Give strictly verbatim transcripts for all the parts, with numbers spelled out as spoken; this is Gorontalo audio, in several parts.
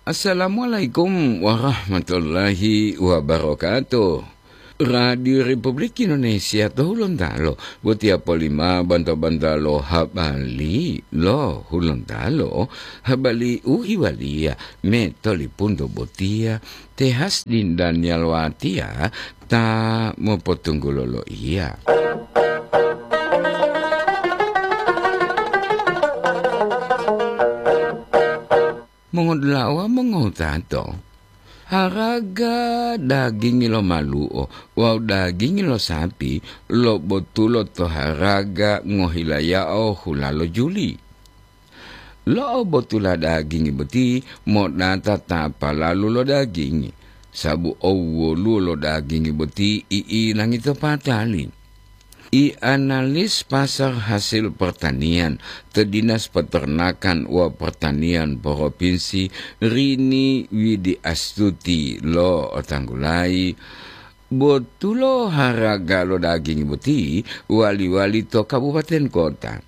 Assalamualaikum warahmatullahi wabarakatuh. Radio Republik Indonesia to Hulontalo, botiya polima banta-banta lo habari lo Hulontalo, habari u iwaliya me tolipunto botiya, Tehas Dindan Yalwatia ta mopotunggulo lo iya. Mongodulawa mongowutato, haraga dagingi lo malu'o wawu dagingi lo sapi lobotulo to haraga ngohilayao hula lo juli. Lo'obotula dagingi boti modata ta palalu lo dagingi, sabu owwoluwo lo dagingi boti i'inangi to patali. I analis pasar hasil pertanian to Dinas Peternakan wa Pertanian Provinsi Rini Widi Astuti lo otanggulayi, botulo haraga lo daging boti wali-wali to kabupaten kota.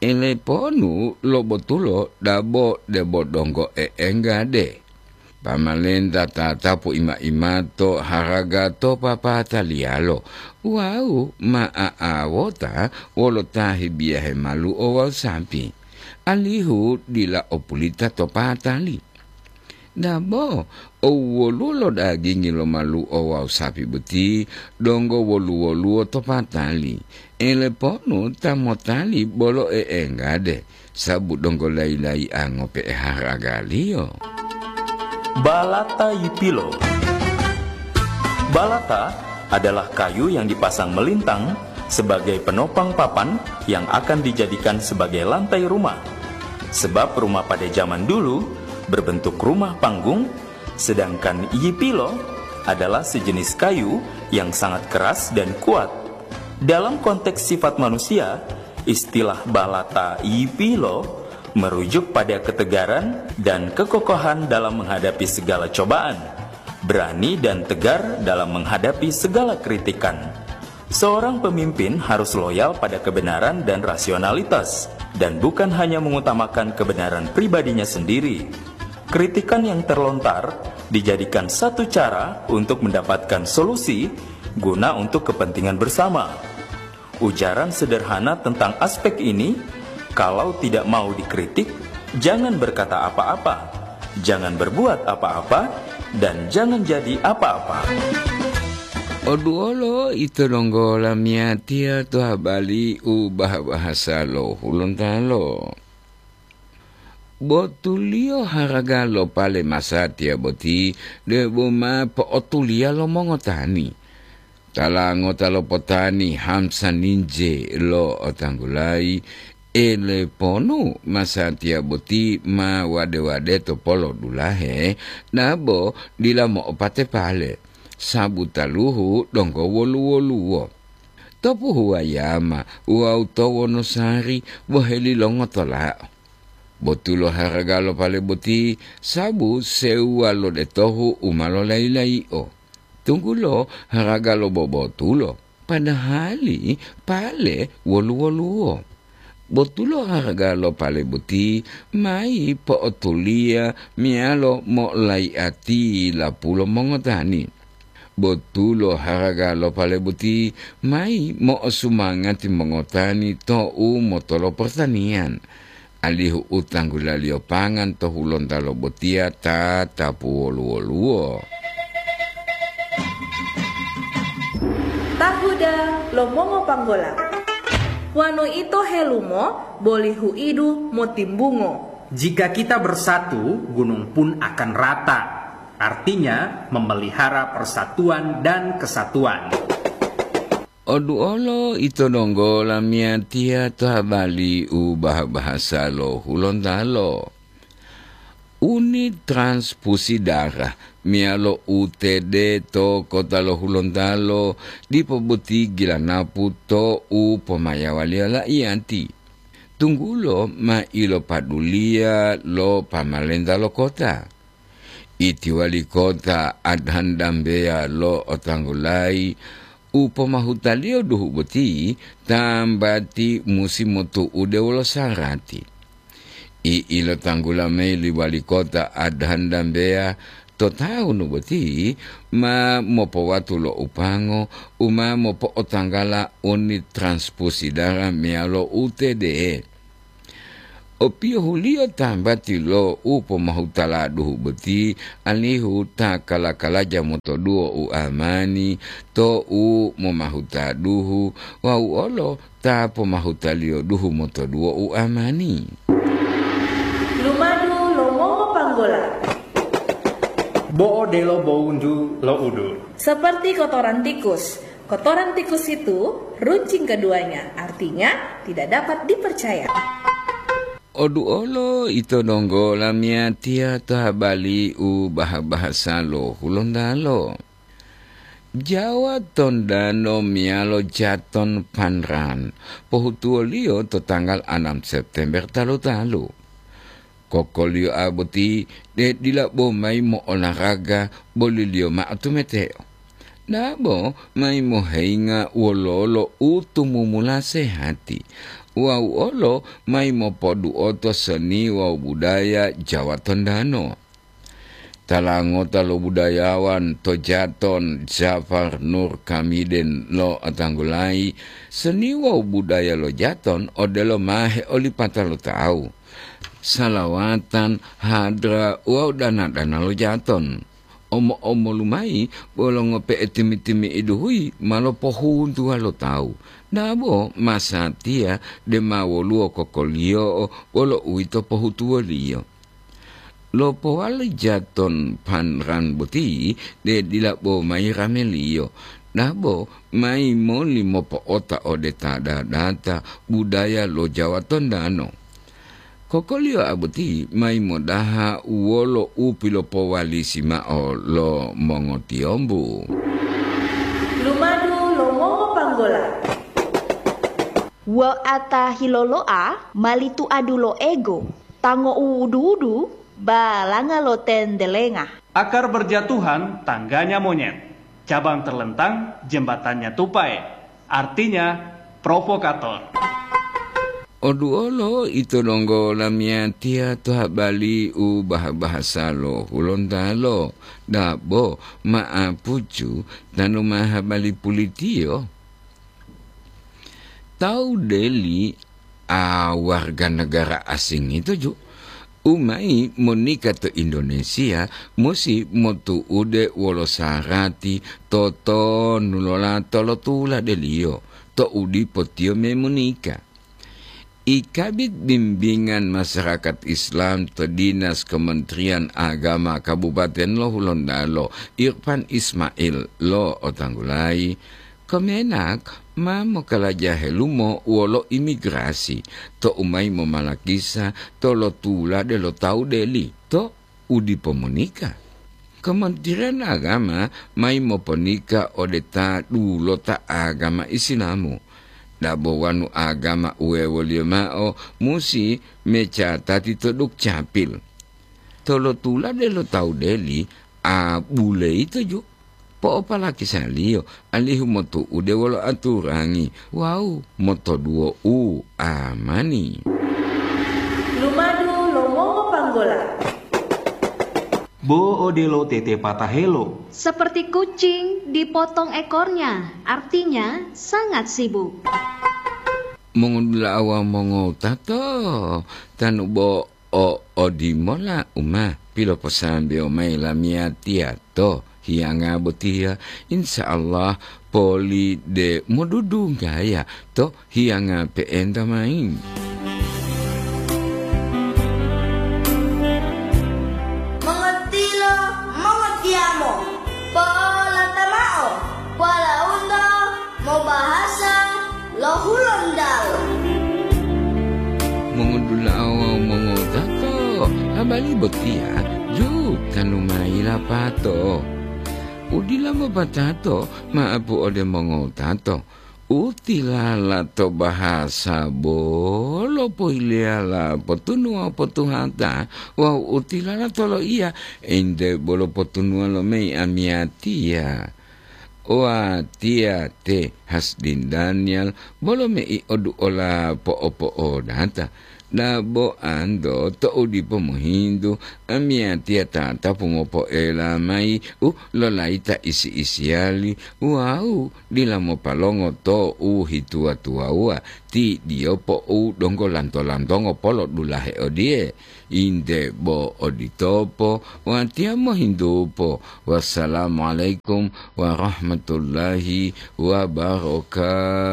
Eleponu lo botulo dabo debo donggo e'enggade. Pamalenta tatapu ima-imato haraga to papataliyalo wawu ma a'awota wolo ta hebiyahe malu'o wawu sapi, alihu dila o pulita to patali. Dabo, owwoluwo lo dagingi lo malu'o wawu sapi boti donggo wolu-woluwo to patali. Eleponu ta motali bolo e'enggade, sabu donggo layi-layi'a ngope'e haragaliyo. Balata yipilo. Balata adalah kayu yang dipasang melintang sebagai penopang papan yang akan dijadikan sebagai lantai rumah. Sebab rumah pada zaman dulu berbentuk rumah panggung, sedangkan yipilo adalah sejenis kayu yang sangat keras dan kuat. Dalam konteks sifat manusia, istilah balata yipilo merujuk pada ketegaran dan kekokohan dalam menghadapi segala cobaan, berani dan tegar dalam menghadapi segala kritikan. Seorang pemimpin harus loyal pada kebenaran dan rasionalitas, dan bukan hanya mengutamakan kebenaran pribadinya sendiri. Kritikan yang terlontar dijadikan satu cara untuk mendapatkan solusi guna untuk kepentingan bersama. Ujaran sederhana tentang aspek ini, kalau tidak mau dikritik, jangan berkata apa-apa, jangan berbuat apa-apa, dan jangan jadi apa-apa. Oduolo ito donggo lamiyatiya to habari u bahasa lo Hulontalo. Botuliyo haraga lo pale masatiya boti debo ma po'otuliya lo mongotani. Tala ngota lo potani Hamsa Ninje lo otanggulayi, eleponu masatiya boti ma wade-wade to polo dulahe, nabo dila mo'opate pale, sabu taluhu donggo wolu-woluwo. To Puhuwayama wawu to Wonosari boheli longotola. Botulo haraga lo pale boti, sabu sewuwa lo detohu u ma lolayi-layi'o. Tunggulo haraga lo bobotulo, padahali pale wolu-woluwo. Botulo haraga lo pale boti mayi po'otuliya meyalo mo'olayi'ati lapulo mongotani. Botulo haraga lo pale boti mayi mo'osumangati mongotani to'u motolo pertanian, alihu u tanggulaliyo pangan to Hulontalo botiya tatapu wolu-woluwo. Tahuda lo mongopanggola. Wanu ito helumo, boli huidu motimbungo. Jika kita bersatu, gunung pun akan rata. Artinya, memelihara persatuan dan kesatuan. Oduolo ito donggo lamiyatiya to habari u bah-bahasa lo Hulontalo. Unit transfusi darah meyalo U T D to kota lo Hulontalo dipo boti gilanapu to u pomayawaliyo la'iyati. Tunggulo ma ilopaduliya lo pamalenta lo kota. Iti wali kota Adhan Dambeya lo otanggulayi u pomahutaliyo duhu boti tambati musi motu'ude wolo sarati. I'ilotanggula mayi li wali kota Adhan Dambeya to tawunu boti ma mopowatu lo upango u ma mopo'otanggala unit transfusi darah meyalo U T D. Opiyohuliyo tambati lo u pomahutala duhu boti, alihu ta kala-kalaja motoduwo u amani to u momahuta duhu wawu olo ta pomahutaliyo duhu motoduwo u amani. Lumadu lo mongopanggola. Bo'o delo bowuntu lo udu. Seperti kotoran tikus. Kotoran tikus itu runcing keduanya, artinya tidak dapat dipercaya. Oduolo ito donggo lamiyatiya to habali u baha-bahasa lo Hulontalo. Jawa Tondano meyalo Jaton Panran, pohutuwoliyo to tanggal anam September talu-talu. Kokoliyo a boti de dila bo mayi mo'olaraga boliliyo ma'o tumeteo. Dabo mayi moheyinga wololo u tumumula sehati, wawu olo mayi mopoduoto seni wawu budaya Jawa Tondano. Tala ngota lo budayawan to Jaton, Jafar Nur Kamiden, lo'otanggulayi, seni wawu budaya lo Jaton odelo ma heolipata lo tawu, salawatan, hadra wawu dana-dana lo Jaton. Omo-omolu mayi bolo ngope'e timi-timi'idu huyi ma lopohuntuwa lo tawu, dabo masatiya de ma woluwo kokoliyo'o bolo uwito pohutuwoliyo. Lopowali Jaton Panran boti de dila bo mayi rameliyo, dabo mayi moli mopo'ota ode ta dadata budaya lo Jawa Tondano. Kokoliyo a boti mayi modaha wolo u pilopowalisi ma'o lo mongotiyombu. Lumadu lo mongopanggola. Wa'ata hilolo'a mali tuadu lo ego, tango u wudu-wudu, balanga lo tendelenga. Akar berjatuhan, tangganya monyet. Cabang terlentang, jembatannya tupai. Artinya, provokator. Oduolo ito donggo lamiyatiya to habali u baha-bahasa lo Hulontalo, dabo ma'apucu tanu ma habali pulitiyo. Tawu Deli a warga negara asing ito ju, u mayi monika to Indonesia musi motu'ude wolo sarati totonulola tolotula deliyo to u dipo tiyo me monika. I Kabid Bimbingan Masyarakat Islam to Dinas Kementerian Agama Kabupaten lo Hulontalo, Irfan Ismail, lo'otanggulayi, Kemenak ma mokalaja helumo wolo imigrasi to u mayi momalakisa tolotulade lo tawu deli to u dipo monika. Kementerian Agama mayi moponika ode ta dulota agama Isilamu. Dabo wonu agama uwewoliyo ma'o musi mecatati to Dukcapil. Tolotulade lo tawu deli a buleyito ju po'opalakisaliyo alihu motu'ude wolo aturangi wawu motoduwo u amani. Lumadu lo mongopanggola. Bo odelo tete patahelo. Seperti kucing dipotong ekornya, artinya sangat sibuk. Mongodula'a wawu mongowutato, tanu bo o odimola u ma piloposambewo mayi lamiyatiya to hiyanga botiya, insya Allah poli de modudunggaya to hiyanga pe'enta mayi. Mongotilo, mongotiyamo, polata mao, walaundo mobahasa lo Hulontalo. Mongodula'a wawu mongotato, habari botiya ju tanu mayi lapato. Udila mopatato ma'apu ode mongotato. Utilala to bahasa bolo pohileyala potunuwa potuhata wawu utilala to loiya ente bolo potunuwa lo mei amiyatiya. Watiya te Hasdin Daniel bolo mei oduola po'opo'odata. Dabo ando to'u dipo mohintu, amiyatiya tatapu mopoela mayi u lolayita isi-isiyali wawu dila mopalongo to'u hituwa-tuwawuwa ti diyopo u donggo lanto-lantongo polodulahe odiye, "Inte bo oditopo, watiya mohintupo." Wassalamualaikum warahmatullahi wabarakatuh.